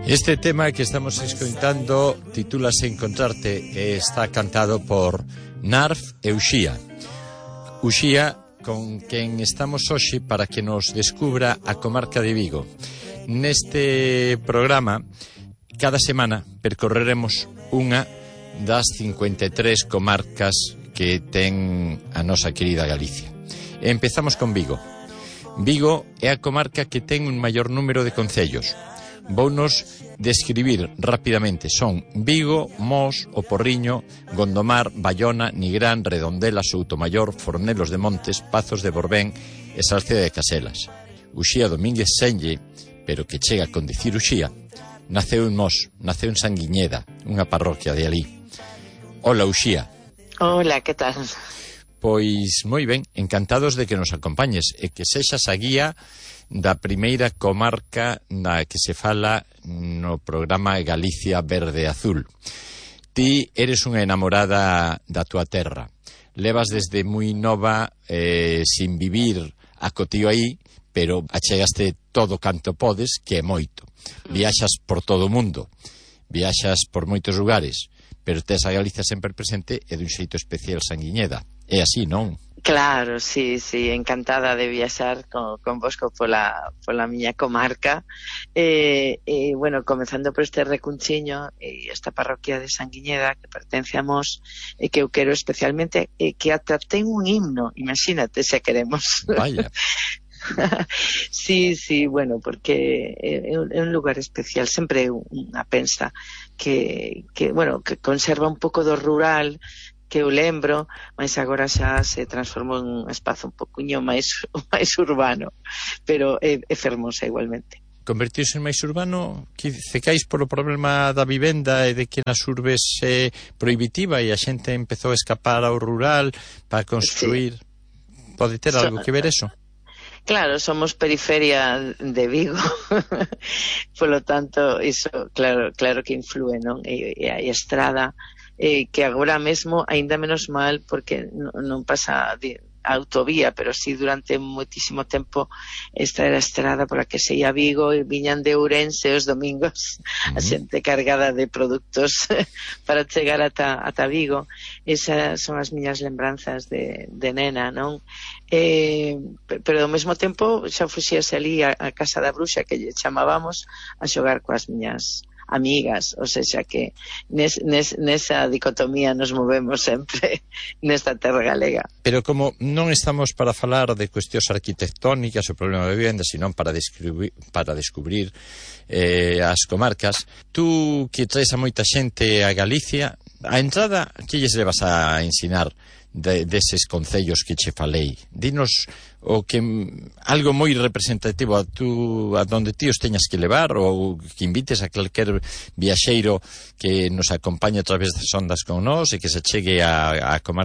Este tema que estamos escoitando titúlase Encontrarte e está cantado por Narf e Uxía. Uxía, con quen estamos hoxe para que nos descubra a comarca de Vigo. Neste programa, cada semana percorreremos unha das 53 comarcas que ten a nosa querida Galicia. E empezamos con Vigo. Vigo é a comarca que ten un maior número de concellos. Vounos describir rapidamente. Son Vigo, Mos, O Porriño, Gondomar, Baiona, Nigrán, Redondela, Soutomaior, Fornelos de Montes, Pazos de Borbén e Salceda de Caselas. Uxía Domínguez Senlle, pero que chega con dicir Uxía, naceu en Mos, naceu en Sanguiñeda, unha parroquia de alí. Hola, Uxía. Hola, que tal? Pois moi ben, encantados de que nos acompañes e que sexas a guía da primeira comarca na que se fala no programa Galicia Verde Azul. Ti eres unha enamorada da túa terra. Levas desde moi nova sin vivir acotío aí, pero achegaste todo canto podes, que é moito. Viaxas por todo o mundo, viaxas por moitos lugares, pero tes a Galicia sempre presente e dun xeito especial Sanguiñeda. É así, non? Claro, sí, encantada de viaxar con vosco pola miña comarca. Bueno, comezando por este recunchiño, esta parroquia de Sanguiñeda, que pertence a Mos, e que eu quero especialmente, que ata ten un himno, imagínate se queremos. Vaya. Sí, bueno, porque é un lugar especial, sempre unha pensa que conserva un pouco do rural, que eu lembro, mas agora xa se transformou en un espazo un poquinho máis urbano, pero é fermosa igualmente. Convertirse en máis urbano, que cecais polo problema da vivenda e de que nas urbes é prohibitiva e a xente empezou a escapar ao rural para construir. Sí. Pode ter algo que ver eso? Claro, somos periferia de Vigo, polo tanto, iso claro que influe, non? E a estrada, que agora mesmo aínda menos mal porque non pasa autovía, pero sí durante moitísimo tempo esta era a estrada pola que se ia a Vigo e viñan de Ourense os domingos a xente cargada de produtos para chegar ata Vigo. Esas son as miñas lembranzas de nena, non? Pero ao mesmo tempo xa fuxíase ali a casa da bruxa, que lle chamábamos, a xogar coas miñas amigas, ou seja que nesa dicotomía nos movemos sempre nesta terra galega. Pero como non estamos para falar de cuestións arquitectónicas ou problema de vivenda, senón para descubrir as comarcas, tú que traes a moita xente a Galicia, a entrada, que lles levas a ensinar deses concellos que che falei? Dinos o que algo moi representativo a donde ti os teñas que levar, ou que invites a calquer viaxeiro que nos acompañe a través das ondas con nós e que se chegue a comarca